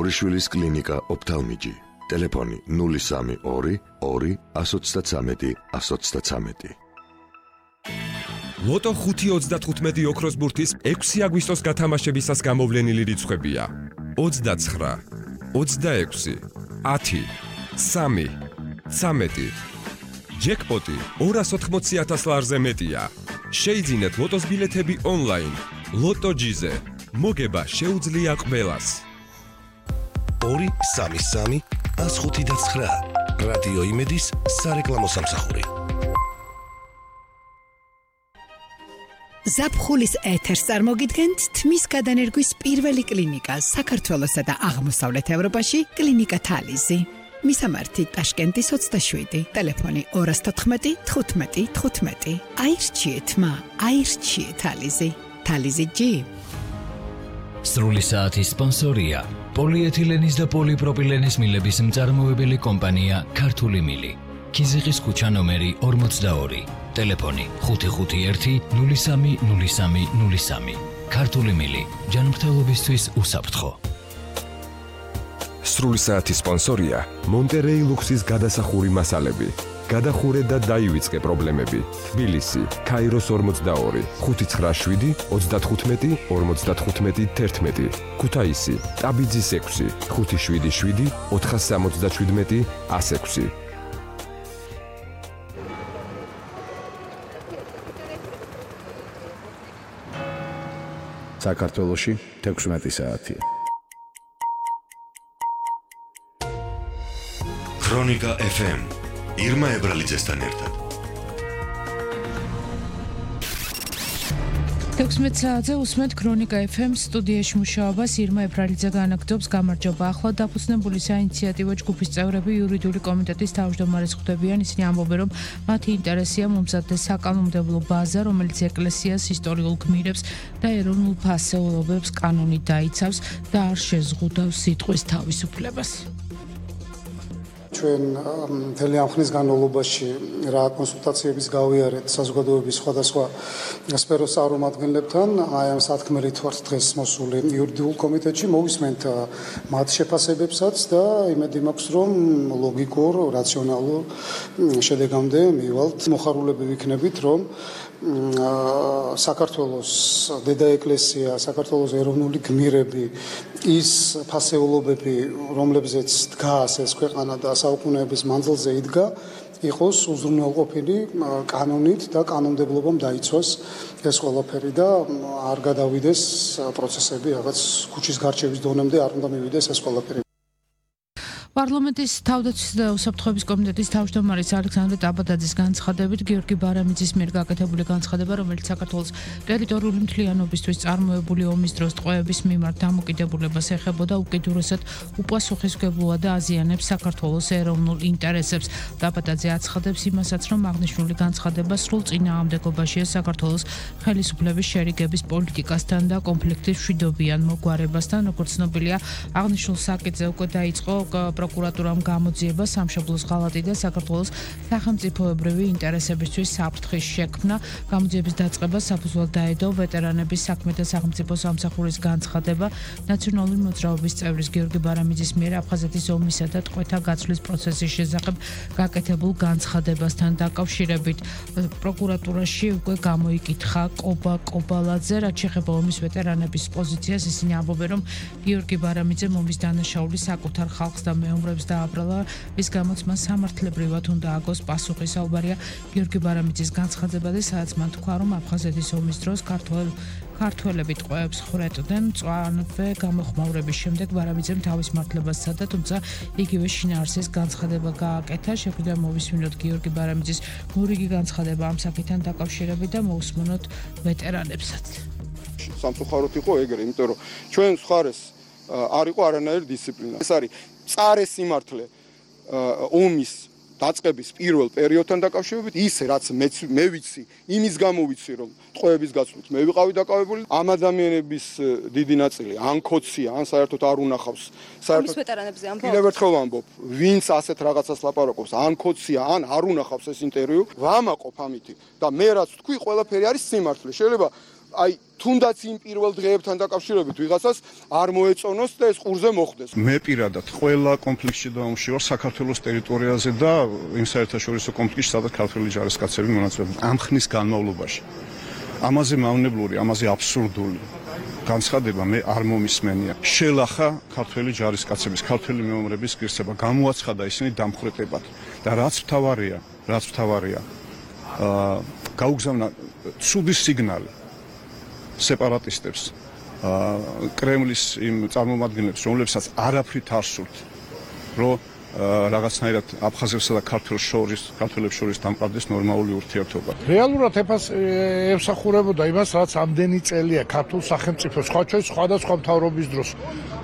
ორიშვილის კლინიკა ოფთალმიჯი. ტელეფონი 032 2 133 133. ლოტო 5.35 ოქროს ბურთის 6 აგვისტოს გათამაშებისას გამოვლენილი რიცხვებია: 29, 26, 10, 3, 13. ჯეკპოტი 280,000 ლარზე მეტია. შეიძინეთ ლოტოს ბილეთები ონლაინ. ლოტო ჯიზე. მოგება შეუძლია ყველას. 233 159 რადიო იმედის სარეკლამო სამსახური. ზაფხულის ეთერს წარმოგიდგენთ თმის გადანერგვის პირველი კლინიკა საქართველოსა და აღმოსავლეთ ევროპაში კლინიკა თალიზი. მისამართი ტაშკენტის 27, ტელეფონი 214 15 15. აირჩიეთ მა, აირჩიეთ თალიზი. თალიზი ჯი. სრული საათის სპონსორია პოლიეთილენის და პოლიპროპილენის მილების მწარმოებელი კომპანია ქართული მილი. ქიზიყის ქუჩა ნომერი 42, ტელეფონი 551 03 03 03. ქართული მილი, ჯანმრთელობისთვის უსაფრთხო. სრული საათის სპონსორია მონტერეი ლუქსის გადასახური მასალები. გადახურე და დაივიწყე პრობლემები. თბილისი, ქაიროს 42, 597 35 55 11. ქუთაისი, ტაბიძის 6, 577 477 106. საქართველოში 16 საათია. ქრონიკა FM ირმა ებრალიძესთან ერთად. 16 საათზე უსმენთ ქრონიკა FM სტუდიაში მუშაობას ირმა ებრალიძე განაგრძობს. გამარჯობა. ახლა დაფუძნებული საინიციატივო ჯგუფის წევრები იურიდიული კომიტეტის თავმჯდომარეს ხვდებიან. ისინი ამბობენ, რომ მათი ინტერესია მომზადდეს საკანონმდებლო ბაზა, რომელიც ეკლესიას ისტორიულ გმირებს და ეროვნულ ფასეულობებს კანონით დაიცავს და არ შეზღუდავს სიტყვის თავისუფლებას. ჩვენ მთელი ამ ხნის განმავლობაში რა კონსულტაციების გავიარეთ საზოგადოების სხვადასხვა სფეროს წარმომადგენლებთან, აი ამ სათქმელით ვართ დღეს მოსული იურიდიულ კომიტეტში, მოვისმენთ მათ შეფასებებსაც და იმედი მაქვს, რომ ლოგიკურ, რაციონალურ შედეგამდე მივალთ. მოხარულები ვიქნებით, რომ საქართველოს დედა ეკლესია, საქართველოს ეროვნული გმირები, ის ფასეულობები, რომლებზეც დგას ეს ქვეყანა და საუკუნეების მანძილზე იდგა, იყოს უზრუნველყოფილი კანონით და კანონმდებლობამ დაიცვას ეს ყველაფერი და არ გადავიდეს პროცესები რაღაც ქუჩის გარჩევის დონემდე, არ უნდა მივიდეს ეს ყველაფერი. პარლამენტის თავდაცვის და უსაფრთხოების კომიტეტის თავმჯდომარის ალექსანდრე ტაბადაძის განცხადებით გიორგი ბარამიძის მიერ გაკეთებული განცხადება, რომელიც საქართველოს ტერიტორიული მთლიანობისთვის წარმოებული ომის დროს ტყვეების მიმართ დამოკიდებულებას ეხებოდა, უკიდურესად უპასუხისმგებლოა და აზიანებს საქართველოს ეროვნულ ინტერესებს. ტაბადაძე აცხადებს იმასაც, რომ აღნიშნული განცხადება სრულ წინააღმდეგობაშია საქართველოს ხელისუფლების შერიგების პოლიტიკასთან და კონფლიქტის მშვიდობიან მოგვარებასთან. როგორც ცნობილია, აღნიშნულ საკითხზე უკვე დაიწყო პროკურატურამ გამოძიება სამშობლოს ღალატი და საქართველოს სახელმწიფოებრივი ინტერესებისთვის საფრთხის შექმნა. გამოძიების დაწყებას საფუძვლად დაედო ვეტერანების საქმეთა სახელმწიფო სამსახურის განცხადება ნაციონალური მოძრაობის წევრის გიორგი ბარამიძის მიერ აფხაზეთის ომისა და ტყვეთა გაცვლის პროცესის შესახებ გაკეთებულ განცხადებასთან დაკავშირებით. პროკურატურაში უკვე გამოიკითხა კობა კობალაძე, რაც შეეხება ომის ვეტერანების პოზიციას. ისინი ამბობენ, რომ გიორგი ბარამიძემ ომის დანაშაული საკუთარ ხალხს და მეომრებს დააბრალა, რის გამოც მან სამართლებრივად უნდა აგოს პასუხი. საუბარია გიორგი ბარამიძის განცხადებაზე, სადაც მან თქვა, რომ აფხაზეთის ომის დროს ქართველები ტყვეებს ხრეტდნენ. მწვანე გამოხმაურების შემდეგ ბარამიძემ თავის მართლებას სცადა, თუმცა იგივე შინაარსის განცხადება გააკეთა. შეგვიძლია მოვისმინოთ გიორგი ბარამიძის მორიგი განცხადება ამ საკითხთან დაკავშირებით და მოусმენოთ ვეტერანებსაც. სამწუხაროდ იყო ეგრე, იმიტომ რომ ჩვენ მხარეს არ იყო არანაირი დისციპლინა. ეს არის წარე სიმართლე ომის დაწყების პირველ პერიოდთან დაკავშირებით, ის რაც მე ვიცი, იმის გამო ვიცი, რომ ტყვეების გაცვლით მე ვიყავი დაკავებული. ამ ადამიანების დიდი ნაწილი ან ქოცია, ან საერთოდ არ უნახავს. საერთოდ ვეტერანებზე ამბობ. კიდევ ერთხელ ვამბობ, ვინც ასეთ რაღაცას ლაპარაკობს, ან ქოცია, ან არ უნახავს ეს ინტერვიუ, ვამაყობ ამითი და მე რაც თქვი, ყველაფერი არის სიმართლე. შეიძლება აი თუნდაც იმ პირველ დღეებთან დაკავშირებით ვიღაცას არ მოეწონოს და ეს ყურზე მოხდეს. მე პირადად ყველა კონფლიქტში დავუმში ვარ საქართველოს ტერიტორიაზე და იმ საერთაშორისო კონფლიქტში, სადაც ქართველი ჯარისკაცები მონაწილეობენ ამ ხნის განმავლობაში. ამაზე მავნებლური, ამაზე აბსურდული განცხადება მე არ მომისმენია. შელახა ქართველი ჯარისკაცების, ქართველი მეომრების ღირსება, გამოაცხადა ისინი დამხვრეტებად და რაც მთავარია, გაუგზავნა ცუდი სიგნალი სეპარატისტებს, კრემლის იმ წარმომადგენლებს, რომლებსაც არაფრით არ სურთ, რომ რაღაცნაირად აფხაზებსა და ქართველებს შორის დამყარდეს ნორმალური ურთიერთობა. რეალურად ემსახურებოდა იმას, რაც ამდენი წელია ქართულ სახელმწიფოს, სხვადასხვა მთავრობის დროს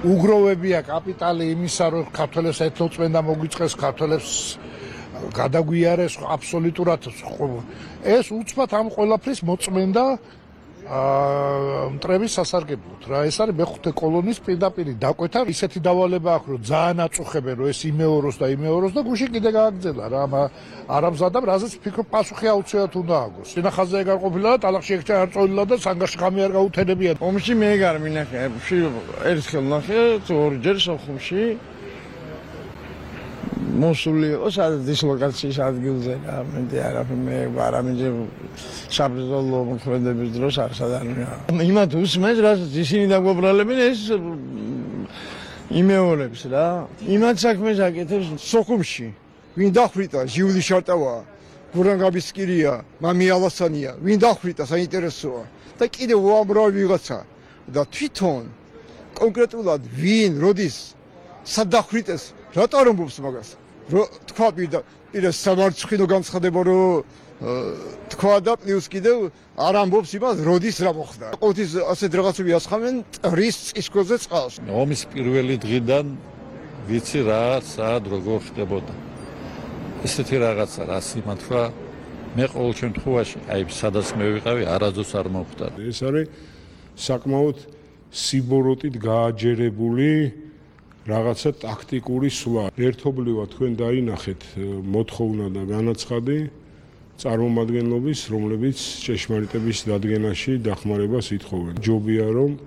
უგროვებია კაპიტალი იმისა, რომ ქართველებს ეთნოწმენდა მოგვიწყეს, ქართველებს გადაგვიარეს აბსოლუტურად. ეს უცბად ამ ყველაფრის მოწმენდა მტრების სასარგებლოდ რა. ეს არის მეხუთე კოლონის პირდაპირ დაკვეთა. ისეთი დავალება აქვს, რომ ძალიან აწუხებენ, რომ ეს იმეოროს და გუშინ კიდე გააგრძელა რა. არ ამზადა, რაზეც ფიქრობ პასუხი აუცილებლად უნდა აგოს. სინახაზზე ეგარ ყოფილა და ტალახში ეგ არ წოლილა და სანგაში ხამი არ გაუთენებია. ომში მე ეგ არ მინახე. ერთხელ ნახე, ორჯერ სოხუმში მოსული იყო სადაც დისლოკაციის ადგილზე რა. მე არაფერ მე არამედ საბრძოლო მოქმედების დროს არ სადანია. იმათ უსმენს, რასაც ისინი დაგვაბრალებენ ეს იმეორებს რა. იმათ საქმეს აკეთებს სოხუმში. ვინ დახვრიტა? ჟიული შარტავა, გურანგაბისკირია, მამი ალასანია. ვინ დახვრიტა? საინტერესოა. და კიდევ უამრავი ვიღაცა. და თვითონ კონკრეტულად ვინ, როდის, სად დახვრიტეს, რატო არ ამბობს მაგას? თქვა პირდაპირ სამარცხინო განცხადება, რომ თქვა და პლუს კიდევ არ ამბობს იმას, როდის რა მოხდა. ყოველთვის ასეთ რაღაცები ასხამენ ტრის წისქვილზე წყალს. ომის პირველი დღიდან ვიცი რა, სად როგორ ხდებოდა. ესეთი რაღაცა რა სიმართვა მე ყოველ შემთხვევაში, აი სადაც მე ვიყავი, არასდროს არ მოხდა. ეს არის საკმაოდ სიბოროტით გააჯერებული რაღაცა ტაქტიკური სვლა. ერთობლივად თქვენ დაინახეთ მოთხოვნა და განაცხადი წარმომადგენლობის, რომლებიც ჭეშმარიტების დადგენაში დახმარებას ითხოვენ. ჯობია რომ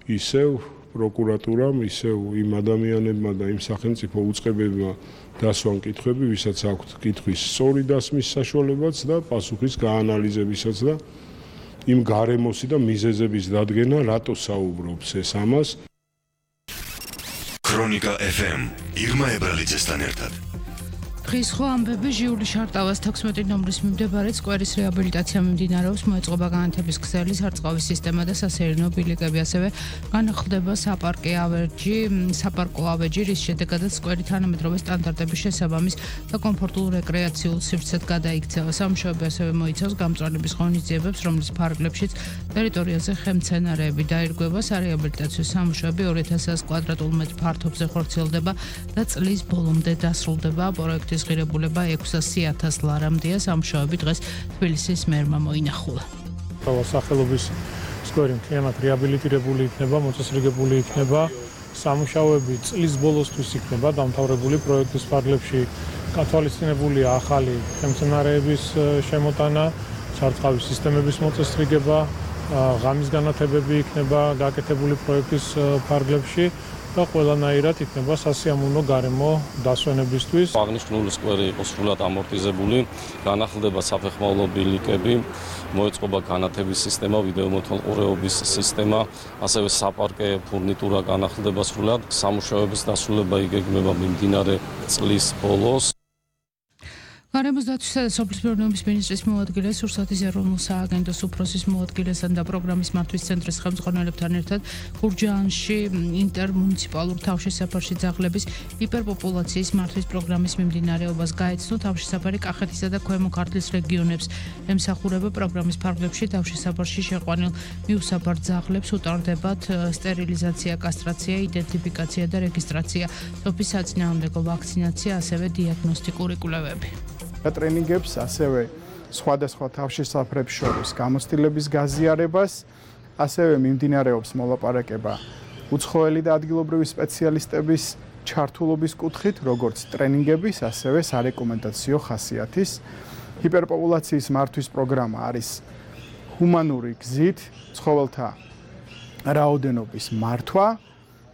ისევ პროკურატურამ, ისევ იმ ადამიანებმა და იმ სახელმწიფო უწყებებმა დასვან კითხვები, ვისაც აქვთ კითხვის სწორი დასმის საშუალებაც და პასუხის გაანალიზებისაც და იმ გარემოსი და მიზეზების დადგენა, რატო საუბრობს ეს ამას. ქრონიკა FM ირმა ებრალიძესთან ერთად. დღის ხო ამბები ჟიული შარტავას 16 ნომრის მიმდებარე სკვერის რეაბილიტაცია მიმდინარეობს, მოეწყობა განათების ქსელი, სარწყავის სისტემა და სასეირნო ბილიკები, ასევე განახლდება საპარკო ავეჯი, რის შედეგადაც სკვერი თანამედროვე სტანდარტების შესაბამის და კომფორტულ რეკრეაციულ სივრცედ გადაიქცევა. სამუშაოები ასევე მოიცავს გამწვანების ღონისძიებებს, რომლის ფარგლებშიც ტერიტორიაზე ხემცენარეები დაირგვება. სარეაბილიტაციო სამუშაოები 2100 კვადრატულ მეტრ ფართობზე ხორციელდება და წლის ბოლომდე დასრულდება. პროექტის ღირებულება 600,000 ლარამდეა. სამუშაოები დღეს თბილისის მერმა მოინახულა. სახელობის სკვერი მთლიანად რეაბილიტირებული იქნება, მოწესრიგებული იქნება. სამუშაოები წლის ბოლოსთვის იქნება დამთავრებული. პროექტის ფარგლებში გათვალისწინებულია ახალი ხემცენარეების შემოტანა, სარწყავის სისტემების მოწესრიგება, ღამის განათებები იქნება გაკეთებული პროექტის ფარგლებში. და ყველანაირად იქნება სასიამოვნო გარემო დასვენებისთვის. აღნიშნული სკვერი იყო სრულად ამორტიზებული, განახლდება საფეხმავლო ბილიკები, მოეწყობა განათების სისტემა, ვიდეომოთვალყურეობის სისტემა, ასევე საპარკე ფურნიტურა განახლდება სრულად. სამუშაოების დასრულება იგეგმება მიმდინარე წლის ბოლოს. გარემოს დაცვისა და სოფლის მეურნეობის მინისტრის მოადგილე, სურსათის ეროვნულ სააგენტოს უფროსის მოადგილესთან და პროგრამის მართვის ცენტრის ხელმძღვანელებთან ერთად გურჯაანში ინტერმუნიციპალურ თავშესაფარში ძაღლების ჰიპერპოპულაციის მართვის პროგრამის მიმდინარეობას გაეცნო. თავშესაფარი კახეთისა და ქვემო ქართლის რეგიონებს ემსახურება. პროგრამის ფარგლებში თავშესაფარში შეყვანილ მიუსაფარ ძაღლებს უტარდებათ სტერილიზაცია, კასტრაცია, იდენტიფიკაცია და რეგისტრაცია, სოფლის საწინააღმდეგო ვაქცინაცია, ასევე დიაგნოსტიკური კვლევები. ტრენინგებს, ასევე სხვადასხვა თავშესაფრებს შორის გამოცდილების გაზიარებას, ასევე მიმდინარეობს მოლაპარაკება უცხოელი და ადგილობრივი სპეციალისტების ჩართულობის კუთხით, როგორც ტრენინგების, ასევე სარეკომენდაციო ხასიათის. ჰიპერპოპულაციის მართვის პროგრამა არის ჰუმანური გზით ცხოველთა რაოდენობის მართვა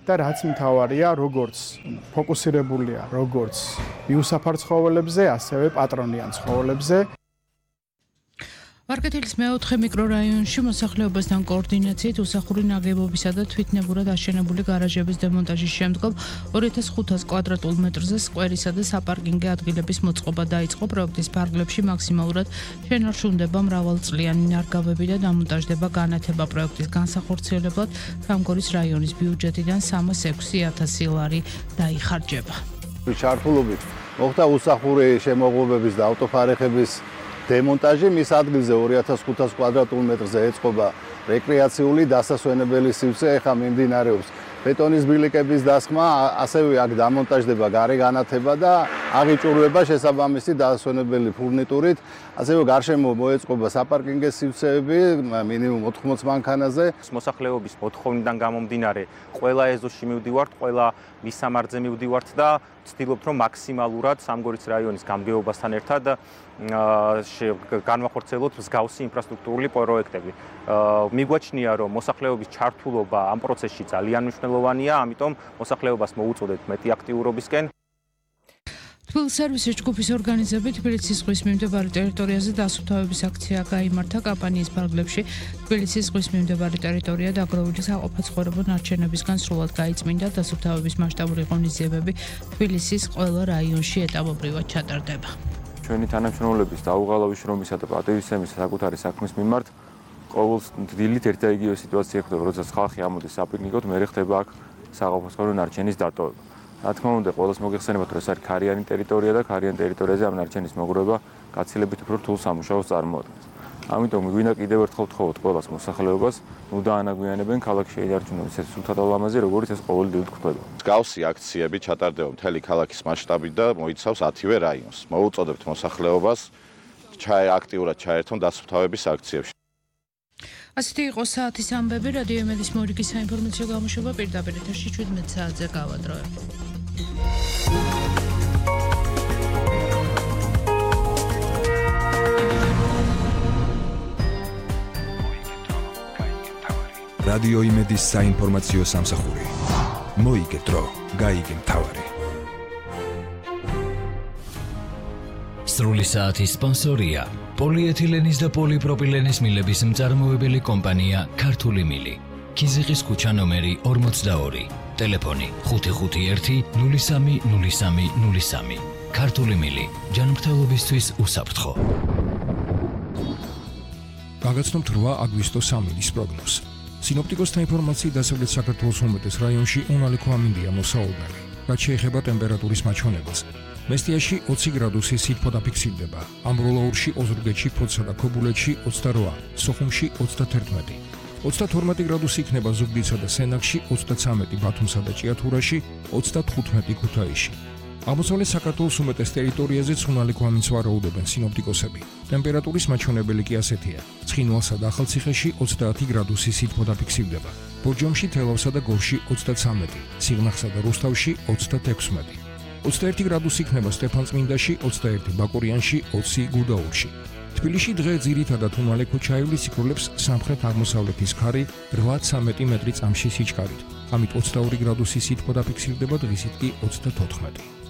და რაც მთავარია, როგორც ფოკუსირებულია როგორც მიუსაფარ ცხოველებზე, ასევე პატრონიან ცხოველებზე. ვარკეთილის მეოთხე მიკრორაიონში მოსახლეობასთან კოორდინაციით უსახური ნაგებობისა და თვითნებურად აშენებული გარაჟების დემონტაჟის შემდგომ 2500 კვადრატულ მეტრზე სკვერისა და საპარკინგე ადგილების მოწყობა დაიწყო. პროექტის ფარგლებში მაქსიმალურად შენარჩუნდება მრავალწლიანი ნარგავები და დამონტაჟდება განათება. პროექტის განსახორციელებლად სამგორის რაიონის ბიუჯეტიდან 306,000 ლარი დაიხარჯება. ჩართულობით მოხდა უსახური შემოღობების და ავტოფარეხების დემონტაჟი. მის ადგილზე 2500 კვადრატულ მეტრზე ეწყობა რეკრეაციული დასასვენებელი სივრცე. ეხლა მიმდინარეობს ბეტონის ბილიკების დასხმა, ასევე აქ დამონტაჟდება გარე განათება და აღიჭურვება შესაბამისი დასასვენებელი ფურნიტურით. ასევე გარშემო მოეწყობა საპარკინგე სივრცეები მინიმუმ 80 მანქანაზე. მოსახლეობის მოთხოვნიდან გამომდინარე ყველა ეზოში მივდივართ, ყველა მისამართზე მივდივართ და ვცდილობთ რომ მაქსიმალურად სამგორის რაიონის გამგეობასთან ერთად განვახორციელოთ მსგავსი ინფრასტრუქტურული პროექტები. მიგვაჩნია რომ მოსახლეობის ჩართულობა ამ პროცესში ძალიან მნიშვნელოვანია, ამიტომ მოსახლეობას მოუწოდეთ მეტი აქტიურობისკენ. თბილისის სერვისის ჯგუფის ორგანიზებით თბილისის ზღვის მიმდებარე ტერიტორიაზე დასუფთავების აქცია გაიმართა. კამპანიის ფარგლებში თბილისის ზღვის მიმდებარე ტერიტორია დაგროვილი საყოფაცხოვრებო ნარჩენებისგან სრულად გაიწმინდა. დასუფთავების მასშტაბური ღონისძიებები თბილისის ყველა რაიონში ეტაპობრივად ჩატარდება. ჩვენი თანამშრომლების დაუღალავი შრომისა და პატივისცემის საკუთარი საქმის მიმართ ყოველდღიურად ერთ და იგივე სიტუაცია ხდება, როდესაც ხალხი ამოდის საპიკნიკოდ, მერე ხდება აქ საყოფაცხოვრებო ნარჩენის დატოვება. რა თქმა უნდა, ყველას მოგეხსენებათ, რომ ეს არის ქარიანი ტერიტორია და ქარიან ტერიტორიაზე ამ ნარჩენის მოგროვება გაცილებით უფრო რთულ სამუშაოს წარმოადგენს. ამიტომ გვინდა კიდევ ერთხელ ვთხოვოთ ყველას მოსახლეობას, ნუ დაანაგვიანებენ ქალაქში შეინარჩუნონ ისეთ სულთა და ლამაზი, როგორც ეს ყოველდღიურად ხდება. მსგავსი აქციები ჩატარდება მთელი ქალაქის მასშტაბით და მოიცავს 10-ვე რაიონს. მოუწოდებთ მოსახლეობას აქტიურად ჩაერთონ დასუფთავების აქციებში. ასეთი იყო საათის ამბები. რადიო იმედის მორიგის საინფორმაციო გამოშვება პირდაპირ ეთერში 17 საათზე გავადროებთ. რადიო იმედის საინფორმაციო სამსახური. მოიგე დრო, გაიგე მთავარი. სრული საათის სპონსორია პოლიეთილენის და პოლიპროპილენის მილების მწარმოებელი კომპანია ქართული მილი. ქიზიყის ქუჩა ნომერი 42. ტელეფონი 551-030303. ქართული მილი. ჯანმრთელობისთვის უსაფრთხო. გაგაცნობთ 8 აგვისტოს სამინის პროგნოზს. სინოპტიკოსთა ინფორმაციით დასავლეთ საქართველოს უმეტეს რაიონში უნალექო ამინდია მოსაუბნელი. რაც შეეხება ტემპერატურის მაჩვენებას. მესტიაში 20 გრადუსი სითბო დაფიქსირდება. ამბროლაურში, ოზურგეთში, ფოთსა და ქობულეთში 28, სოხუმში 31. 32 გრადუსი იქნება ზუგდიდსა და სენაკში, 33 ბათუმსა და ჭიათურაში, 35 ქუთაისში. აღმოსავლეთ საქართველოს უმეტეს ტერიტორიაზე უნალექო ამინდს ვარაუდობენ სინოპტიკოსები. ტემპერატურის მაჩვენებელი კი ასეთია: ცხინვალსა და ახალციხეში 30 გრადუსი სითბო დაფიქსირდება. ბორჯომში, თელავსა და გორში 33, სიღნაღსა და რუსთავში 36. 21 გრადუსი იქნება სტეფანწმინდაში, 21 ბაკურიანში, 20 გუდაურში. თბილისში დღე ძირითადად უნალექო ჩაივლის იქროლებს სამხრეთ-აღმოსავლეთის ქარი 8-13 მეტრი წამში სიჩქარით. ამით 22 გრადუსი სითბო დაფიქსირდება, დღისით კი 34.